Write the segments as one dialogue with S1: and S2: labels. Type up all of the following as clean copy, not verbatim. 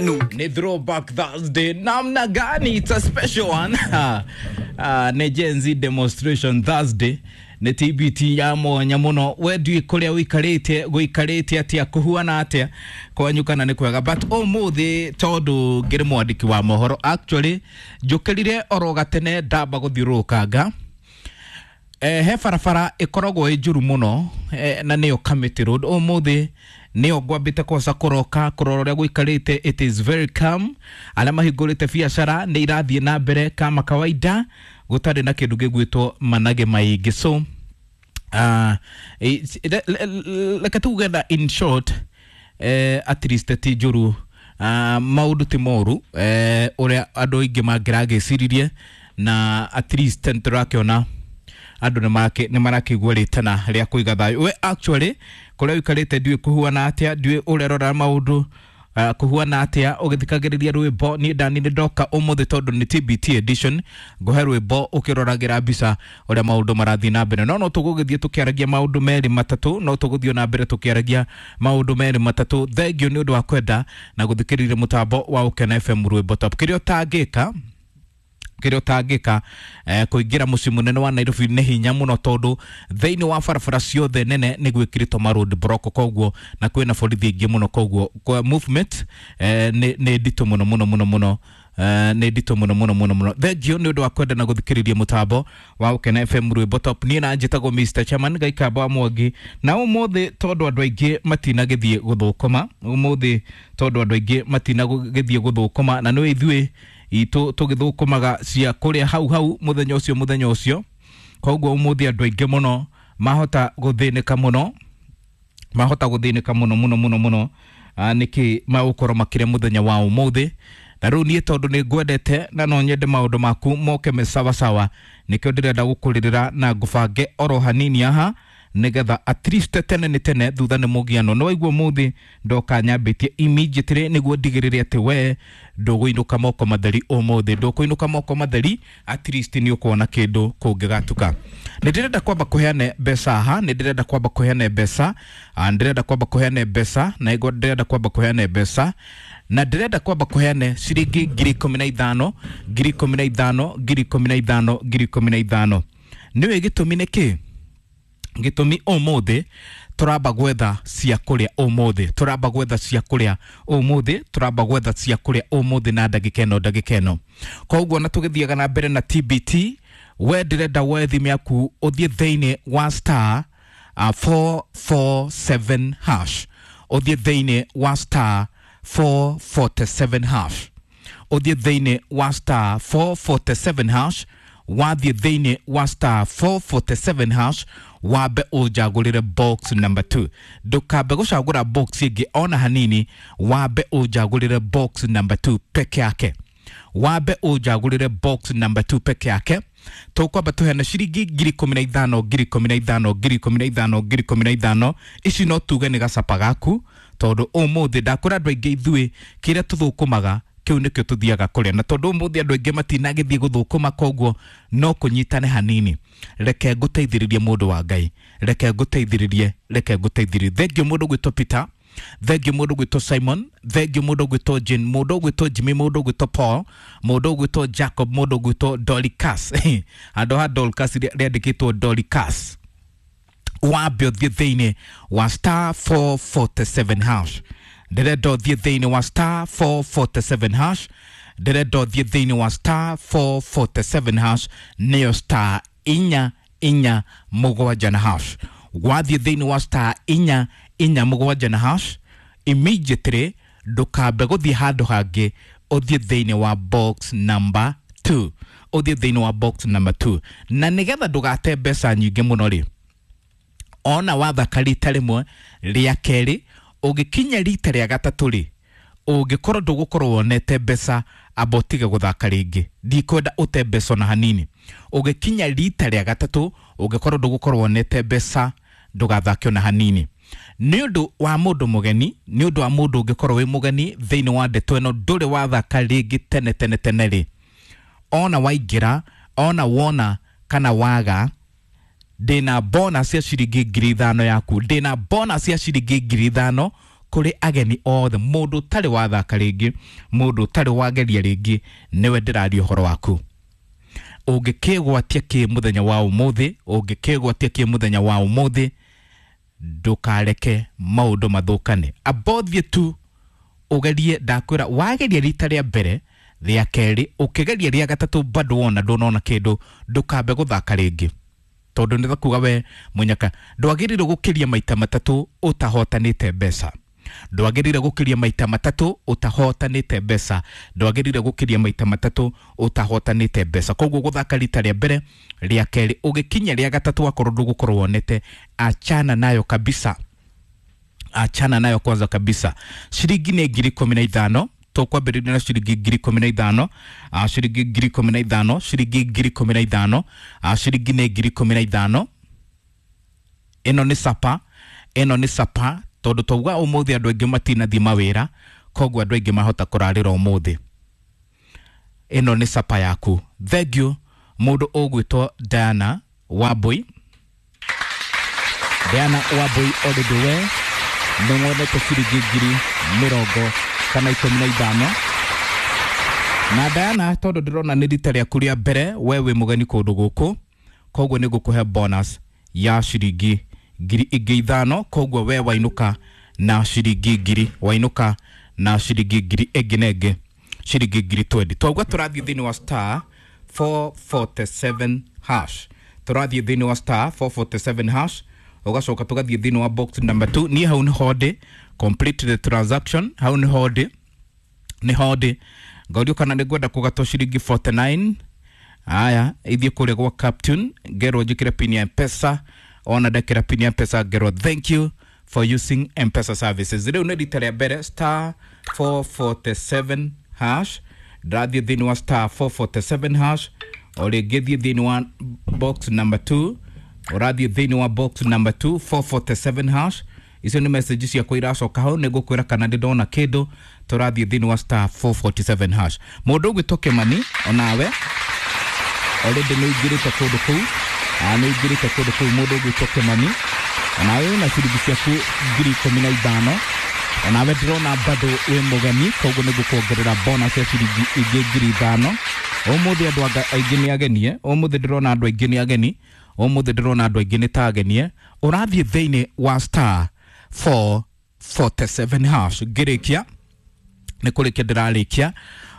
S1: Ni Throwback Thursday namna gani? It's a special one. Nĩ Gen Z demonstration Thursday, nĩ TBT ya mwanya mũno. We ndiũĩ kũrĩa ũikarĩte gũikarĩte atĩa, kũhuana atĩa kwanyu kana nĩ kwega, but ũmũthĩ tondũ ngĩrĩ mwandĩki wa mohoro, actually njũkĩrire oro gatene ndamba gũthiũrũrũkanga. He barabara ĩkoragwo ĩ njũru mũno, na nĩyo Kamiti Road. Ũmũthĩ nĩyo ngwambĩte koca kũroka kũrora ũrĩa gũikarĩte. It is very calm. Arĩa mahingũrĩte biacara nĩ irathiĩ na mbere kama kawaida, gũtarĩ na kĩndũ gĩgwĩtwo manage maingĩ. So reke tuge na in short, at least ti njũru, maũndũ ti moru ũrĩa andũ aingĩ mangĩragĩciririe, na at least nĩtũrakĩona andũ nĩ marakĩigua rĩtana rĩa kũiga thayũ. We actually kũrĩa ũikarĩte ndiũĩ kũhuana atĩa, ndiũĩ ũrerora maũndũ kũhuana atĩa ũgĩthikagĩrĩria rwĩmbo. Niĩ ndani nĩ ndoka ũmũthĩ tondũ nĩ TBT edition, ngũhe rwĩmbo ũkĩroragĩra mbica ũrĩa maũndũ marathiĩ na mbere. No tũgũgĩthiĩ tũkĩaragia maũndũ merĩ matatũ, no tũgũthiĩ na mbere tũkĩaragia maũndũ merĩ matatũ. Thengiũ nĩ ũndũ wa kwenda na gũthikĩrĩria mũtambo wa Ũkena FM rwĩmbo top. Kĩrĩa ũtangĩka, kĩrĩa ũtangĩka, kũingĩra mũciĩ mũnene wa Nairobi nĩ hinya mũno tondũ thĩinĩ wa barabara ciothe nene nĩ gwĩkĩrĩtwo ma road block, koguo na kwĩna borithi aingĩ mũno, koguo kwa movement nĩ nditũ mũno mũno mũno mũno, nĩ nditũ mũno mũno mũno mũno. Thengiũ nĩ ũndũ wa kwenda na gũthikĩrĩria mũtambo wa Ũkena FM rwĩmbo top. Niĩ na njĩtagwo Mr Chairman Gaikamba wa Mwangi, na ũmũthĩ tondũ andũ aingĩ matinagĩthiĩ gũthũkũma, ũmũthĩ tondũ andũ aingĩ matinagĩthiĩ gũthũkũma, na nĩ ithuĩ itũ tũgĩthũkũmaga cia kũrĩa hau hau mũthenya ũcio mũthenya ũcio, koguo ũmũthĩ andũ aingĩ mũno mahota gũthĩnĩka mũno, mahota gũthĩnĩka mũno mũno mũno mũno. Nĩkĩ magũkorwo makĩrĩa mũthenya wa ũmũthĩ? Na rĩu niĩ tondũ nĩ ngwendete na no nyende maũndũ maku moke me sawasawa, nĩkĩo ndĩrenda gũkũrĩrĩra na ngũbange oro hanini haha nĩgetha at least tene nĩ tene thutha nĩ mũgiano. No waigua ũmũthĩ ndoka nyambĩtie immediately nĩguo ndigĩrĩre atĩ we ndũgũinũka moko matheri ũmũthĩ, ndũkũinũka moko matheri, at least nĩ ũkuona kĩndũ kũngĩgatuka. Nĩ ndĩrenda kwamba kũheane mbeca haha, nĩ ndĩrenda kwamba kũheane mbeca, ndĩrenda kwamba kũheane mbeca, na ĩgo ndĩrenda kwamba kũheane mbeca, na ndĩrenda kwamba kũheane ciringi 15,000, 15,000, 15,000, 15,000. Nĩũĩ gĩtũmi nĩ kĩ? Gĩtũmi ũmũthĩ tũramba gwetha cia kũrĩa, ũmũthĩ tũramba gwetha cia kũrĩa, ũmũthĩ tũramba gwetha cia kũrĩa ũmũthĩ na ndagĩka ĩno, ndagĩka ĩno. Koguo na tũgĩthiaga na mbere na TBT, we ndĩrenda woe thimũ yaku ũthiĩ thĩinĩ wa star 447 hash, ũthiĩ thĩinĩ wa star 447 hash, ũthiĩ thĩinĩ wa star 447 hash. Wathiĩ thĩinĩ wa star 447 hash, wambe ũnjagũrĩre box number 2. Ndũkambe gũcagũra box ĩngĩ ona hanini, wambe ũnjagũrĩre box number 2 peke yake, wambe ũnjagũrĩre box number 2 peke yake. Tũkwamba tũheane ciringi 15,000, 15,000, 15,000, 15,000. Ici no tuge nĩ gacapa gaku tondũ ũmũthĩ ndakwĩra andũ aingĩ ithuĩ kĩrĩa tũthũkũmaga kĩu nĩkĩo tũthiaga kũrĩa, na tondũ ũmũthĩ andũ aingĩ matinagĩthiĩ gũthũkũma, koguo no kũnyitane hanini. Reke ngũteithĩrĩrie, mũndũ wa Ngai, reke ngũteithĩrĩrie, reke ngũteithĩrĩrie. Thengiũ mũndũ gwĩtwo Peter, thengiũ mũndũ gwĩtwo Simon, thengiũ mũndũ gwĩtwo Jane, mũndũ gwĩtwo Jimmy, mũndũ gwĩtwo Paul, mũndũ gwĩtwo Jacob, mũndũ gwĩtwo Dorcas. Handũ ha Dorcas rĩandĩkĩtwo Dorcas. Wambe ũthiĩ thĩinĩ wa star 447 hash. Ndĩrenda ũthiĩ thĩinĩ wa star 447 hash, ndĩrenda ũthiĩ thĩinĩ wa star 447 hash, nĩyo star 447 na hash. Wathiĩ thĩinĩ wa star 447 na hash, immediately ndũkambe gũthiĩ handũ hangĩ, ũthiĩ thĩinĩ wa box number 2, ũthiĩ thĩinĩ wa box number 2. Na nĩgetha ndũgate mbeca nyingĩ mũno rĩ, ona wathaka rita rĩmwe, rĩa kerĩ, ũgĩkinya rita rĩa gatatũ rĩ, ũngĩkorwo ndũgũkorwo wonete mbeca, amba ũtige gũthaka rĩngĩ. Ndikwenda ũte mbeca ona hanini. Ũgĩkinya rita rĩa gatatũ, ũngĩkorwo ndũgũkorwo wonete mbeca, ndũgathake ona hanini. Nĩ ũndũ wa mũndũ mũgeni, nĩ ũndũ wa mũndũ ũngĩkorwo wĩ mũgeni thĩinĩ wa ndeto ĩno, ndũrĩ wathaka rĩngĩ tene tene tene rĩ, ona waingĩra, ona wona kana waga, ndĩna bonus ya ciringi 5,000 yaku, ndĩna bonus ya ciringi 5,000. Kũrĩ ageni othe, mũndũ ũtarĩ wathaka rĩngĩ, mũndũ ũtarĩ wageria rĩngĩ, nĩwe ndĩraria ũhoro waku. Ũngĩkĩgwatia kĩ mũthenya wa ũmũthĩ, ũngĩkĩgwatia kĩ mũthenya wa ũmũthĩ, ndũkareke maũndũ mathũkane. Abothie tu ũgerie, ndakwĩra wageria rita rĩa mbere, rĩa kerĩ, ũkĩgeria rĩa gatatũ bado wona ndũnona kĩndũ, ndũkambe gũthaka rĩngĩ, tondũ nĩ kuga we mũnyaka ndwagĩrĩire gũkĩria maita matatũ ũtahotanĩte mbeca. Ndwagĩrĩire gũkĩria maita matatũ ũtahotanĩte mbeca. Ndwagĩrĩire gũkĩria maita matatũ ũtahotanĩte mbeca. Koguo gũthaka rita rĩa mbere, rĩa kerĩ, ũgĩkinya rĩa gatatũ akorwo ndũgũkorwo wonete, achana nayo kabisa, achana nayo kwanza kabisa. Ciringi nĩ 15,000. Tũkwambĩrĩria na ciringi 15,000, ciringi 15,000, ciringi 15,000, ciringi nĩ 15,000. Ĩno nĩ sapa, ĩno nĩ sapa, tondũ twauga ũmũthĩ andũ aingĩ matinathiĩ mawĩra, koguo andũ aingĩ mahota kũrarĩra ũmũthĩ. Ĩno nĩ sapa yaku. Thank you mũndũ ũgwĩtwo Diana Wambui. Diana Wambui already we nĩ wonete ciringi 15,000. Na Diana, tondũ ndĩrona nĩ rita rĩaku rĩa mbere, we wĩ mũgeni kũndũ gũkũ, koguo nĩ ngũkũhe bonus ya ciringi 5,000. Koguo we wainũka na ciringi ngiri, wainũka na ciringi ngiri ĩngĩ na ĩngĩ, ciringi 20,000. Twauga tũrathiĩ thĩinĩ wa star 447 hash, tũrathiĩ thĩinĩ wa star 447 hash, ũgacoka tũgathiĩ thĩinĩ wa box number 2. Niĩ hau nĩho ndĩ, complete the transaction, hau nĩho ndĩ, nĩho ndĩ. Ngaurio kana nĩ ngwenda kũgatwo ciringi 49. Aya, ithiĩ kũrĩa gwa captain, ngerwo njĩkĩre pin ya Mpesa. Ona ndekĩra pin ya Mpesa, ngerwo thank you for using Mpesa services. Rĩu nĩ rita rĩa mbere, star 447 hash, ndrathiĩ thĩinĩ wa star 447 hash. O rĩngĩ thiĩ thĩinĩ wa box number 2, ũrathiĩ thĩinĩ wa box number 2, 447 hash. Icio nĩ message ciakwa iracoka hau, nĩ ngũkwĩra kana ndĩ ndona kĩndũ. Tũrathiĩ thĩinĩ wa star 447 hash. Mũndũ ũgwĩtwo Kĩmani, onawe already nĩ ũingĩrĩte kũndũ kũu, nĩ ũingĩrĩte kũndũ kũu. Mũndũ ũgwĩtwo Kĩmani, onawe wĩna ciringi ciaku 15,000. Onawe ndĩrona bado wĩ mũgeni, koguo nĩ ngũkuongerera bonus ya ciringi ingĩ 5,000. Ũmũthĩ andũ aingĩ nĩ agenie, ũmũthĩ ndĩrona andũ aingĩ nĩ ageni, ũmũthĩ ndĩrona andũ aingĩ nĩ ta agenie. Ũrathiĩ thĩinĩ wa star 447 hash. Ngĩrĩkia, nĩ kũrĩkia ndĩrarĩkia,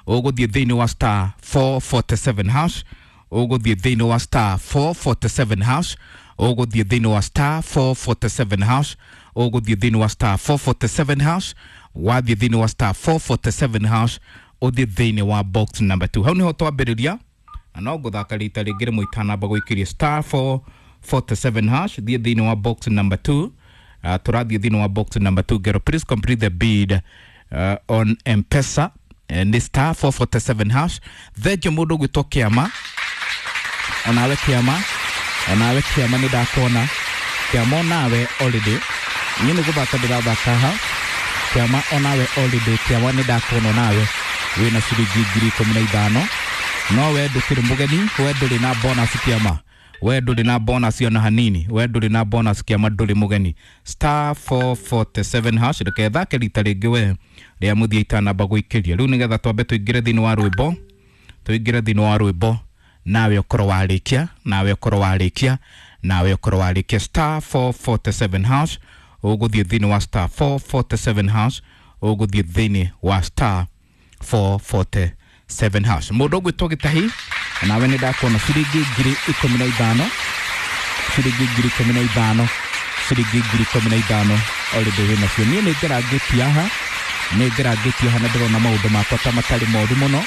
S1: ũgũthiĩ thĩinĩ wa star 447 hash, ũgũthiĩ thĩinĩ wa star 447 hash, ũgũthiĩ thĩinĩ wa star 447 hash, ũgũthiĩ thĩinĩ wa star 447 hash. Wathiĩ thĩinĩ wa star 447 hash, ũthiĩ thĩinĩ wa box number 2. Hau nĩho twambĩrĩria, na no ngũthaka rita rĩngĩ rĩmwe itanamba gũikĩria. Star 447 hash, thiĩ thĩinĩ wa box number 2. Tũrathiĩ thĩinĩ wa box number 2. Ngero please complete the bid on Mpesa. Nĩ star 447 hash. Thengiũ mũndũ ũgwĩtwo Kĩama, onawe Kĩama, onawe Kĩama nĩ ndakuona Kĩama, onawe already niĩ nĩ gũthaka ndĩrathaka ha. Kĩama, onawe already Kĩama nĩ ndakuona, onawe wĩna ciringi 15,000. No we ndũkĩrĩ mũgeni, we ndũrĩ na bonus Kĩama, we ndũrĩ na bonus ona hanini, we ndũrĩ na bonus Kĩama, ndũrĩ mũgeni. Star 447 hash. Reke thake rita rĩngĩ we rĩa mũthia itanamba gũikĩria rĩu, nĩgetha twambe tũingĩre thĩinĩ wa rwĩmbo, tũingĩre thĩinĩ wa rwĩmbo, nawe ũkorwo warĩkia, nawe ũkorwo warĩkia, nawe ũkorwo warĩkia. Star 447 hash, ũgũthiĩ thĩinĩ wa star 447 hash, ũgũthiĩ thĩinĩ wa star 447 hash. Mũndũ ũgwĩtwo Gĩtahi, nawe nĩ ndakuona, ciringi 15,000, ciringi 15,000, ciringi 15,000 already wĩ nacio. Niĩ nĩ ngerangĩtie haha, nĩ ngerangĩtie haha, na ndĩrona maũndũ makwa ta matarĩ moru mũno,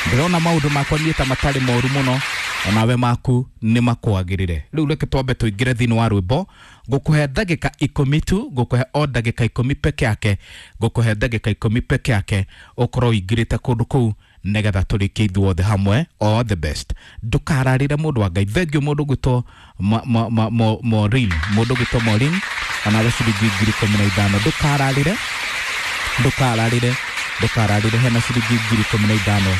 S1: ndĩrona maũndũ makwa niĩ ta matarĩ moru mũno, onawe maku nĩ makwagĩrĩre. Rĩu reke twambe tũingĩre thĩinĩ wa rwĩmbo. Ngũkũhe ndagĩka 10 tu, ngũkũhe o ndagĩka 10 peke yake, ngũkũhe ndagĩka 10 peke yake ũkorwo ũingĩrĩte kũndũ kũu, nĩgetha tũrĩkie ithuothe hamwe. All the best, ndũkararĩre mũndũ wa Ngai. Thengiũ mũndũ ũgwĩtwo Maureen, mũndũ ũgwĩtwo Maureen, onawe ciringi 15,000. Ndũkararĩre, ndũkararĩre, ndũkararĩre, hena ciringi 15,000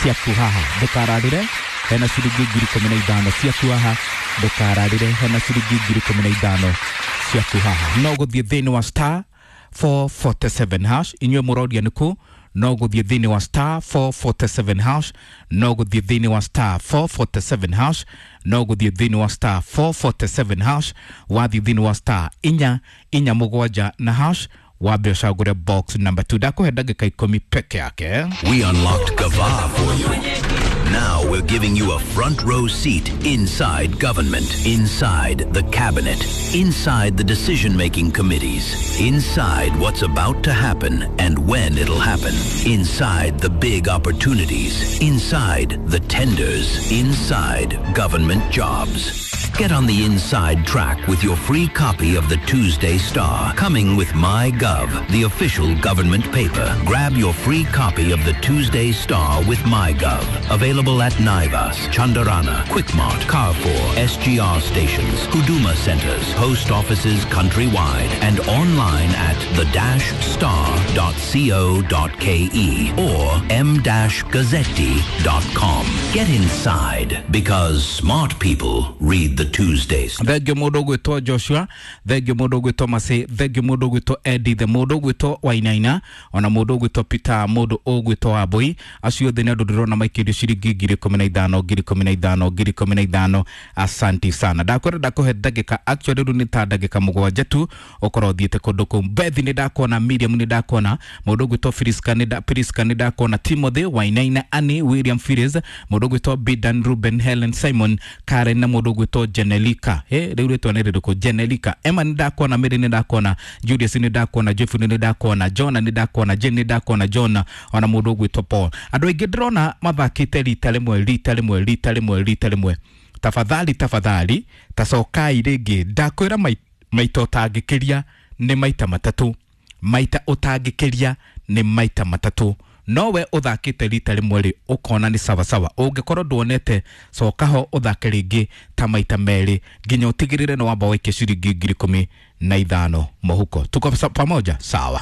S1: ciaku haha. Ndũkararĩre, hena ciringi 15,000 ciaku haha. Ndũkararĩre, hena ciringi 15,000 ciaku haha. No gũthiĩ thĩinĩ wa star 447 hash. Inyuĩ mũroria nĩkũ? No gũthiĩ thĩinĩ wa star 447 hash, no gũthiĩ thĩinĩ wa star 447 hash, no gũthiĩ thĩinĩ wa star 447 hash. Wathiĩ thĩinĩ wa star 447 na hash, wambe ũcagũre box number 2. Ndakũhe ndagĩka 10 peke yake.
S2: We unlocked Gava for you. Now we're giving you a front row seat inside government, inside the cabinet, inside the decision making committees, inside what's about to happen and when it'll happen, inside the big opportunities, inside the tenders, inside government jobs. Get on the inside track with your free copy of the Tuesday Star, coming with MyGov, the official government paper. Grab your free copy of the Tuesday Star with MyGov. Available at Naivas, Chandarana, Quickmart, Carrefour, SGR stations, Huduma centers, post offices countrywide, and online at the-star.co.ke or m-gazzetti.com. Get inside because smart people read the Tuesday Star.
S1: Thengio mũndũ ũgwĩtwo Joshua, thengio mũndũ ũgwĩtwo Masi, thengio mũndũ ũgwĩtwo Edith, mũndũ ũgwĩtwo Wainaina, ona mũndũ ũgwĩtwo Peter, mũndũ ũgwĩtwo Wambui. Acio othe nĩ andũ ndĩrona maikĩrio ciringi 15,000, 15,000, 15,000. Asanti sana. Ndakwĩra ndakũhe ndagĩka, actually rĩu nĩ ta ndagĩka 7 tu ũkorwo ũthiĩte kũndũ kũu. Bethi nĩ ndakuona, Miriam nĩ ndakuona, mũndũ ũgwĩtwo Priska nĩ Priska nĩ ndakuona, Timothy Wainaina, Annie William Phillips, mũndũ ũgwĩtwo Bidan Ruben, Helen Simon, Karen na mũndũ ũgwĩtwo Jenelika. Rĩu rĩtwa nĩ rĩrĩkũ? Jenelika. Emma nĩ ndakuona, Mary nĩ ndakuona, Julius nĩ ndakuona, Jeffrey nĩ ndakuona, Jona nĩ ndakuona, Jane nĩ ndakuona, Jona ona mũndũ ũgwĩtwo Paul. Andũ aingĩ ndĩrona mathakĩte rita rĩmwe, rita rĩmwe, rita rĩmwe, rita rĩmwe. Tafadhali, tafadhali, tacookai rĩngĩ. Ndakwĩra maita ũtangĩkĩria nĩ maita 3, maita ũtangĩkĩria nĩ maita 3. Nowe ũthakĩte rita rĩmwe rĩ, ũkona nĩ sawasawa. Ũngĩkorwo nduonete, coka ho ũthake rĩngĩ ta maita 2 nginya ũtigĩrĩre nĩ wamba waikia ciringi 15,000 mũhuko. Tuko pamoja? Sawa.